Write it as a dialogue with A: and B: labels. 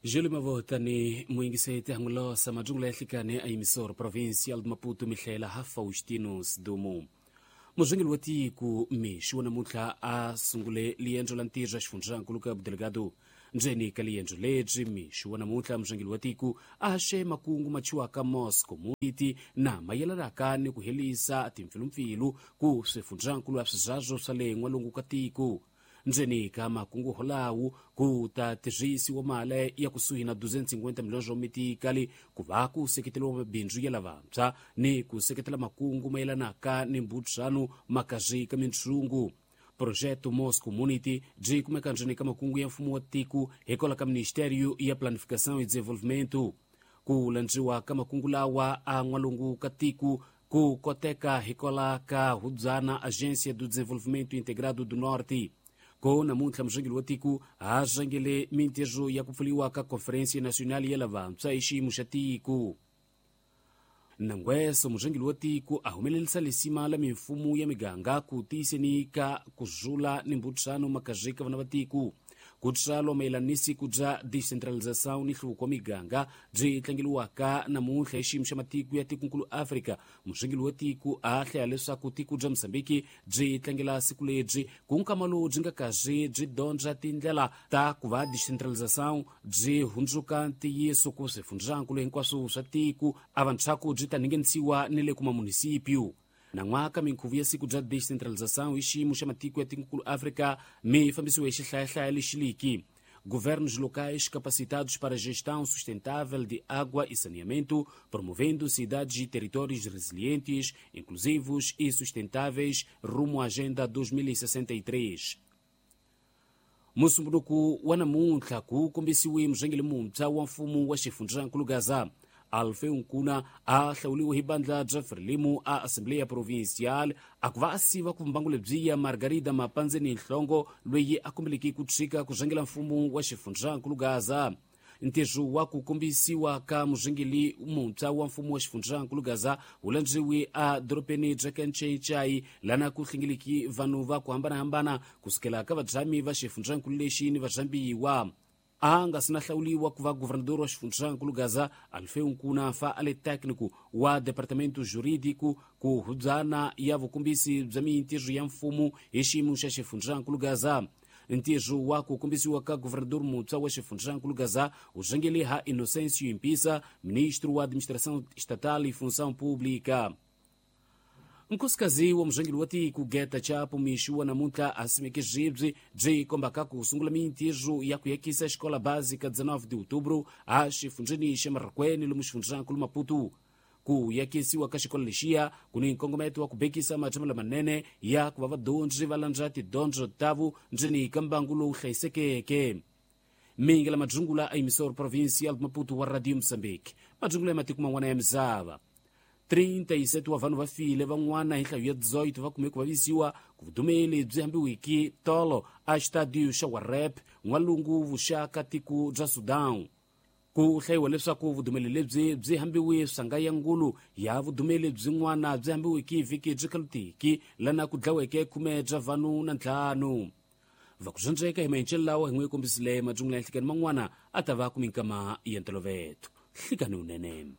A: Júlio Mavotani muyingiseti hangulosa majungula ya hlikane a emisoro provincial de Maputo mihlela ha Faustino Sidumo. Muzwengeli wa tiko mixi wa namuntlha a sungule liendzo la ntirho ya xifundzankulu ka Delgado. Ndzeni ka liendzo lebyi mixi wa namuntlha muzwengeli wa tiko a haxe makungu machiwaka Moscow muiti na mayelanaka ni ku helisa timpfilumpfilu ku swifundzankulu ya swizazo swa le n'walungu ka tiko. Ndzeni ka makungu holawu ku ta tirhisiwa mali ya kusuhi na 250 milhões wa mitikali ku va ku seketeriwa mabindzu ya lavantshwa ni ku seketela makungu mayelanaka ni mbudzano makazi ka mintshungu. Projeto Mos Community byi kumeka ndzeni ka makungu ya mfumo wa tiko hikwalaho ka Ministério ya Planificação e Desenvolvimento. Ku landziwa ka makungu lawa a n'walungu ka tiko ku koteka hikwalaho ka hubyana Agência do Desenvolvimento Integrado do Norte. Ko namuntlha muzwengeli wa tiko ha zwengele mintirho ya ku pfuriwa ka Conferência Nacional ya lavantshwa hi xiyimo xa tiko. Nangweso muzwengeli wa tiko a humelerisa lisima la mimfumo ya miganga ku tiyiseni ka ku zula ni mbudzano makazi ka vana va tiko. Ku tswalwa mayelana ni siku bya decentralização ni nhluvuko wa miganga byi tlangeliwaka namuntlha hi xiyimo xa matiko ya tikonkulu Afrika. Muzwengeli wa tiko a hlaya leswaku tiko bya Mozambiki byi tlangela siku lebyi ku nkama lowu byi nga kazi byi dyondza tindlela ta ku va decentralização byi hundzuka ntiyiso ku swifundzankulu hinkwaswo swa tiko a vantshwaku byi ta ningenisiwa ni le kuma munisipyu. Nan'waka minkhuvo ya siku bya decentralização hi xiyimo xa matiko ya tikonkulu Afrika mi fambisiwe hi xihlayahlaya lexiliki. Governos locais capacitados para gestão sustentável de água e saneamento, promovendo cidades e territórios resilientes, inclusivos e sustentáveis rumo à Agenda 2063. Musumbunuku wa namuntlha ku kombisiwe muzwengeli muntshwa wa mfumo wa xifundzankulu Gaza. Alfeu Nkuna a hlawuriwe hi bandla bya Frelimo a Assembleia Provincial a ku va a siva ku mbangu lebyiya Margarida Mapandzeni Nhlongo loyi a kombeleke ku tshika ku zwengela mfumo wa xifundzankulu Gaza. Ntirho wa ku kombisiwa ka muzwengeli muntshwa wa mfumo wa xifundzankulu Gaza wu landziwe a dorobeni bya Kanchenchai lana ku hlengeleki vanhu va ku hambanahambana kusukela ka vadzhami va xifundzankulu lexi ni vazambiwa. A nga si na hlawuliwa ku va governador wa xifundzankulu Gaza, Alfeu Nkuna fa a le técnico wa departamento jurídico ku hubyana ya vukombisi bya mintirho ya mfumo hi xiyimo xa xifundzankulu Gaza. Ntirho wa ku kombisiwa ka governador muntshwa wa xifundzankulu Gaza wu zwengele ha Inocêncio Impisa, ministro wa administração estatal e função pública. Nkosikazi wa muzwengeli wa tiko Geta Chapo mixi wa namuntlha a simeke zwibyi byi kombaka ku sungula mintirho ya ku yakisa xikola básica 19 de outubro a xifundzeni xa Marracuene lomu xifundzankulu Maputo. Ku yakisiwa ka xikolo lexiya ku ni nkongometo wa ku bekisa matshamelo lamanene ya ku va vadyondzi va landza tidyondzo tavo ndzeni ka mbangu lowu hlayisekeke. Mingela madzungula a emisoro provincial de Maputo wa Radio Moçambique. Madzungula ya matiko man'wana ya misava. 37 wa vanhu va file van'wana hi nhlayo ya 18 va kume ku vavisiwa ku vudumeli byi hambiwiki tolo a xitadiyo xa Warep n'walungu vuxaka tiko bya Sudan. Ku hlayiwa leswaku vudumeli lebyi byi hambiwe swanga ya ngulu ya vudumeli byin'wana byi hambiwiki vhiki byi khalutiki lana ku dlaweke 10 bya vanhu na 5. Va ku dyondzeka hi mahencelo lawa hi n'wi kombisile madzungula ya nhlikani man'wana a ta va ku minkama ya ntolovelo. Hlikani unene.